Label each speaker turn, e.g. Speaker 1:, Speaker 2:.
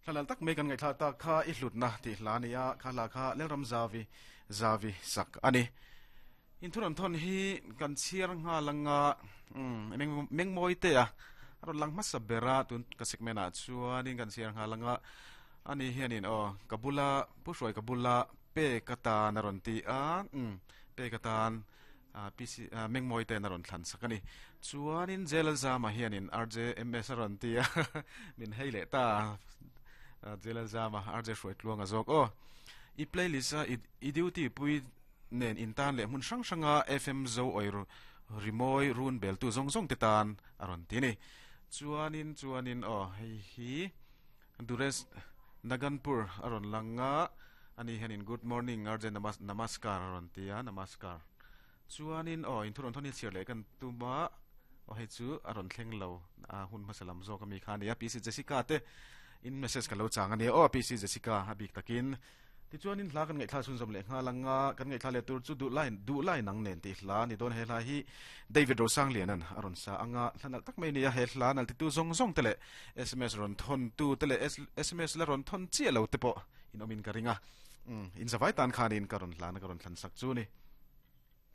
Speaker 1: Thlalal tak mai kan ngaihthla tak kha i hlutna tih hla a ni a, kha hla kha Lalram Zavi Zavi sak a ni. Inthuran thawn hi kan chhiar nghal anga umm mengmawi te a a rawn lang hmasa ber a tun ka segment ah chuanin kan chhiar nghal anga ani hianin aw ka bula Pu Hruai ka bula pek atan a rawn ti a umm pek atan ah PC ah mengmawi ten a rawn thlan sak a ni. Chuanin Jelalzama hianin RJMS a rawn ti a min hei leh ta a Jelalzama RJ Hruaitluanga zawk aw i playlist a i duty pui nen intan leh hmun hrang hranga FM zo awi rimawi run beltu zawng zawng te tan a rawn ti a ni. Chuanin chuanin aw hei hi Duresh Naganpur a rawn lang a, ani hianin Good morning RJ Namaskar a rawn ti a, Namaskar. Chuanin aw inthu rawn thawn hi chhiar leh kan tum a, aw hei chu a rawn thleng lo a hun hmasa lam zawk ami kha a ni a, PC Jessica te in message ka lo chang a nia aw PC Jessica a bik takin. Tichuanin hla kan ngaihthla chhunzawm leh nghal ang a, kan ngaihthla leh tur chu duh lai duh lai nang nen tih hla a ni dawn. He hla hi David Rosangliana'n a rawn sa ang a, hla nalh tak mai a ni a, he hla nalh titu zawng zawng te leh sms rawn thawn tu te leh sms la rawn thawn chiah lo te pawh in awmin ka ring a, umm in zavai tan khanin ka rawn hlana ka rawn thlan sak chu a ni.